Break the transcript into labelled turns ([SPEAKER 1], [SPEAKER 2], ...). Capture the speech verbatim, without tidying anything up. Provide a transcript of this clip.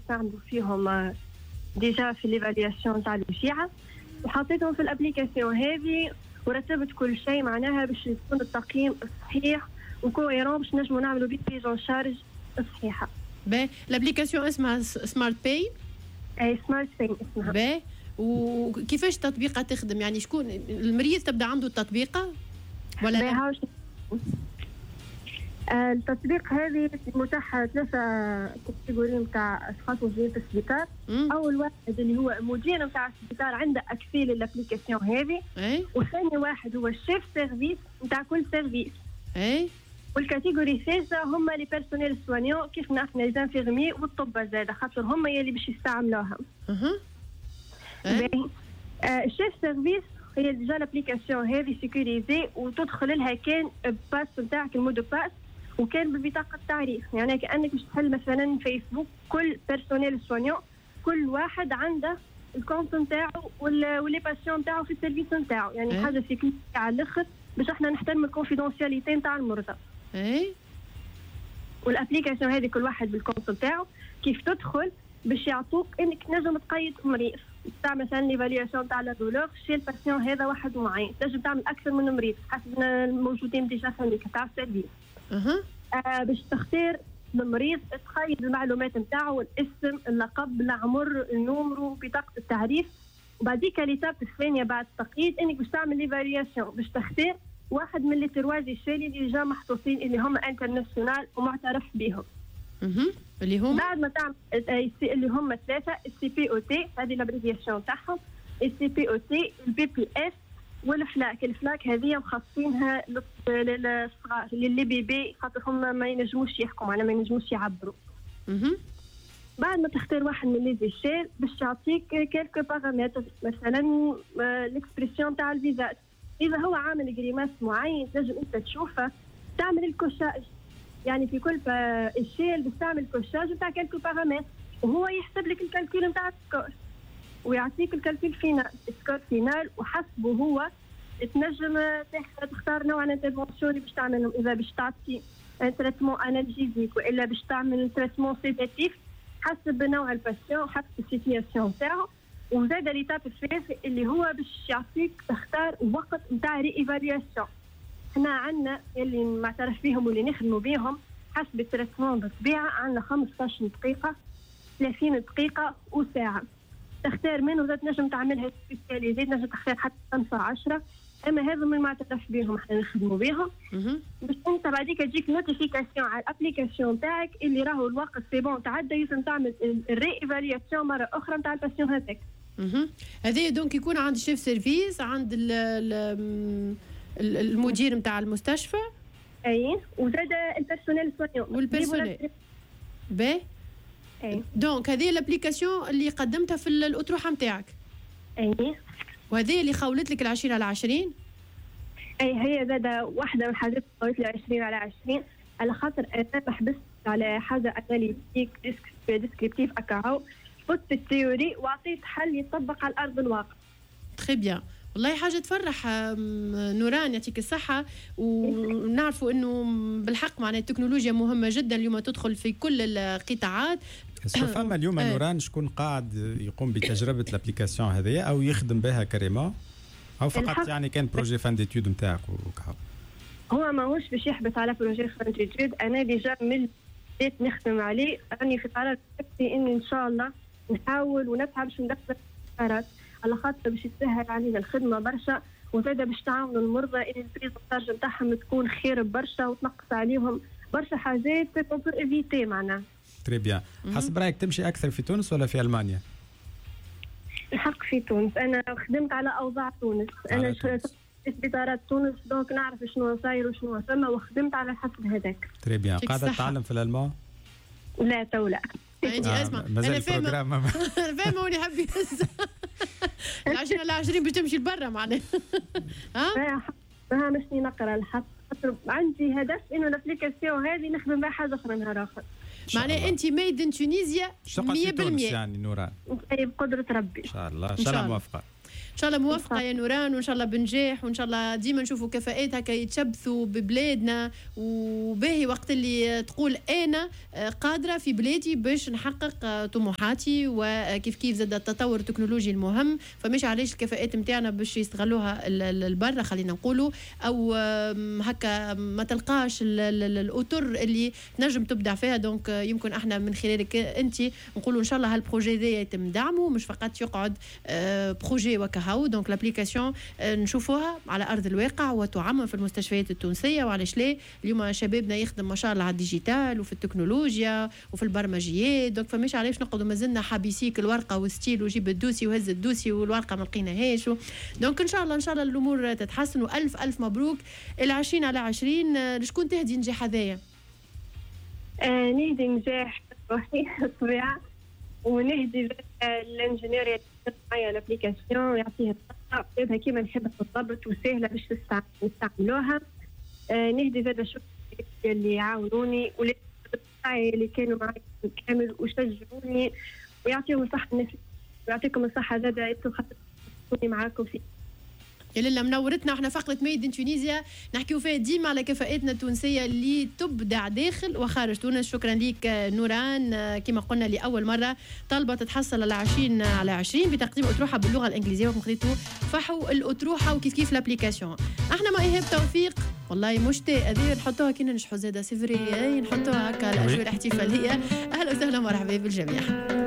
[SPEAKER 1] نستعملوا فيهم déjà في l'évaluation تاع الوجيعه، وحطيتهم في ال application هذه ورتبت كل شيء معناها باش يكون التقييم صحيح و cohérent باش نجموا نعملوا بيه prise en charge صحيحه.
[SPEAKER 2] باهي، l'application اسمها Smart Pain؟
[SPEAKER 1] اي، Smart Pain اسمها.
[SPEAKER 2] باهي، وكيفاش التطبيقه تخدم؟ يعني شكون المريض تبدا عنده التطبيقه ولا
[SPEAKER 1] لا؟ آه، التطبيق هذه متاح ثلاثة catégories نتاع اشخاص موجودين في السبيطار. اول واحد اللي هو مدير نتاع السبيطار، عنده accès لل application هذه.
[SPEAKER 2] اي
[SPEAKER 1] وثاني واحد هو ال chef service نتاع كل service.
[SPEAKER 2] اي
[SPEAKER 1] وال catégorie الثالثة هما les personnels soignants، كيف نحن les infirmiers والطب زاد، خاطر هما يلي باش يستعملوها.
[SPEAKER 2] اها
[SPEAKER 1] آه، ال chef service هي déjà l'application هذه sécurisée، وتدخل لها كان passe نتاعك، ال mot de passe، وكان ببطاقه التعريف. يعني كانك باش تحل مثلا فيسبوك، كل personnel soignant كل واحد عنده ال compte نتاعو و les patients نتاعو في ال service نتاعو، يعني ايه؟ حاجة sécurisée على الاخر باش احنا نحترم ال confidentialité نتاع المرضى.
[SPEAKER 2] اي
[SPEAKER 1] وال application هذه كل واحد بال compte نتاعو، كيف تدخل باش يعطوك انك تنجم تقيد مريض، تاع مثلا l'évaluation تاع la douleur chez ال patient هذا واحد معين، تنجم تعمل اكثر من مريض حسب الموجودين déjà عندك تاع ال service.
[SPEAKER 2] اها
[SPEAKER 1] آه باش تختار المريض، تقيد المعلومات نتاعو، الاسم، اللقب، العمر، ال numéro، بطاقة التعريف. وبعديك l'étape الثانية بعد التقييد انك باش تعمل l'évaluation، باش تختار واحد من les trois échelles اللي déjà محطوطين، اللي هما internationales ومعترف بهم.
[SPEAKER 2] اها، اللي هما؟
[SPEAKER 1] بعد ما تعمل، اللي هما ثلاثه: ال CPOT، هذه l'abréviation تاعهم، ال CPOT، ال BPS وال FLAC. ال FLAC هذه مخصصينها للصغار، les bébés، خاطر هم ما ينجموش يحكوا، معناها ما ينجموش يعبروا. بعد ما تختار واحد من les échelles باش يعطيك quelques paramètres، مثلا l'expression تاع ال visage، اذا هو عامل grimace معين تنجم انت تشوفه، تعمل ال cochage، يعني في كل échelle باش تعمل cochage نتاع quelques paramètres، وهو يحسب لك ال calcul نتاع ال score ويعطيك ال calcul final، ال score final، وحسبه هو تنجم تختار نوع ال intervention اللي باش تعملهم، اذا باش تعطي un traitement analgésique والا باش تعمل traitement sédatif، حسب نوع ال patient، حسب ال situation تاعو. وزاد l'étape الثالث اللي هو باش يعطيك تختار وقت نتاع réévaluation. احنا عندنا اللي معترف بهم واللي نخدموا بهم حسب ال traitement بالطبيعه، عندنا خمسطاش دقيقه، ثلاثين دقيقة وساعه، تختار منه. زاد تنجم تعملها spécialisée، تنجم تختار حتى خمسة عشرة، اما هذا من معترف بهم احنا نخدموا بهم. باش انت بعديك تجيك notification على ال application تاعك اللي راهو الوقت c'est bon تعدى، يلزم تعمل ال réévaluation مرة اخرى نتاع ال patient هذاك.
[SPEAKER 2] هذا donc يكون عند chef service، عند ال المدير نتاع المستشفى.
[SPEAKER 1] اي، وزاد ال personnel soignant.
[SPEAKER 2] وال personnel، باهي.
[SPEAKER 1] اي.
[SPEAKER 2] donc هذه l'application اللي قدمتها في الاطروحه نتاعك؟
[SPEAKER 1] اي.
[SPEAKER 2] وهذه اللي خولت لك العشرين على عشرين؟
[SPEAKER 1] اي، هي زاد واحدة من الحاجات اللي خولت لي عشرين على عشرين، على خاطر انا ما حبست على حاجة analytique descriptive اكاهو، فت ال théorie وعطيت حل يطبق على ارض الواقع.
[SPEAKER 2] très bien، والله حاجة تفرح نوران، يعطيك الصحة. ونعرفوا انه بالحق معناها التكنولوجيا مهمة جدا اليوم، تدخل في كل القطاعات.
[SPEAKER 3] فما اليوم نوران شكون قاعد يقوم بتجربة l'application هذه او يخدم بها carrément، او فقط يعني كان projet fin d'études نتاعك وكهو؟
[SPEAKER 1] هو ماهوش باش يحبس على projet fin d'études. انا déjà من بديت نخدم عليه، راني في قرار نفسي اني ان شاء الله نحاول ونتعب باش ندخل على خاطر باش يسهل علينا الخدمة برشا، وزاده باش تعاونوا المرضى اللي ال prise en charge نتاعهم تكون خير برشا وتنقص عليهم برشا حاجات qu'on peut éviter معناها.
[SPEAKER 3] très bien. حسب رايك تمشي اكثر في تونس ولا في المانيا؟
[SPEAKER 1] الحق في تونس، انا خدمت على اوضاع تونس، انا في سبيطارات تونس، donc نعرف شنو صاير وشنو ثم، وخدمت على حسب هذاك.
[SPEAKER 3] très bien. قاعدة تتعلم في الالمان؟
[SPEAKER 1] لا، تو لا.
[SPEAKER 2] انت آه اسمع، انا فاهمه فاهمه واللي حاب يهز العشرين على عشرين باش تمشي لبرا معناها.
[SPEAKER 1] ها ما مشني نقرا الحق، عندي هدف انه l'application هذه نخدم بها حاجة اخرى نهار اخر.
[SPEAKER 2] معناها انت made in Tunisia مية بالمية.
[SPEAKER 3] يعني نوران
[SPEAKER 1] بقدره ربي.
[SPEAKER 3] ان شاء الله، ان شاء الله موفقه.
[SPEAKER 2] ان شاء الله موفقة يا نوران، وان شاء الله بنجاح، وان شاء الله ديما نشوفوا كفاءات هكا يتشبثوا ببلادنا. وباهي وقت اللي تقول انا قادرة في بلادي باش نحقق طموحاتي، وكيف كيف زاد التطور التكنولوجي المهم، فمش علاش الكفاءات نتاعنا باش يستغلوها البرة خلينا نقولوا، او هكا ما تلقاش الاطر اللي تنجم تبدع فيها. donc يمكن احنا من خلالك انت نقولوا ان شاء الله هال projet ذا يتم دعمه، مش فقط يقعد projet وكهو. donc l'application نشوفوها على ارض الواقع وتعمم في المستشفيات التونسيه، وعلاش لا، اليوم شبابنا يخدم ما شاء الله على ال digital وفي التكنولوجيا وفي البرمجيات. donc فماش علاش نقعدوا مازلنا حابسيك الورقة والستيل وجيب ال dossier وهز ال dossier والورقة ما لقيناهاش. donc ان شاء الله ان شاء الله الامور تتحسن، والف الف مبروك العشرين على عشرين. لشكون تهدي نجاح هذايا؟
[SPEAKER 1] آه نهدي نجاح روحي الطبيعة، ونهدي ال ingénieur اللي معايا l'application ويعطيها الصحة كيما نحبها بالضبط وسهلة باش نستعملوها. آه نهدي زاد شكر اللي عاونوني واللي اللي كانوا معي كامل وشجعوني، ويعطيهم الصحة الناس، ويعطيكم الصحة زاد انتم خاطر معاكم في
[SPEAKER 2] يا لله منورتنا. احنا فقرة Made in Tunisia نحكيو فيها ديما على كفاءاتنا التونسية اللي تبدع داخل وخارج تونس. شكرا ليك نوران، كما قلنا لأول مرة طالبة تتحصل على عشرين على عشرين بتقديم أطروحة باللغة الإنجليزية، وكم خذيتو فحو الأطروحة وكيف كيف l'application. احنا مع إيهاب توفيق والله مشتاق هذه نحطوها كي ننجحوا زاده c'est vrai، نحطوها هكا الأجواء الاحتفالية. أهلا وسهلا ومرحبا بالجميع.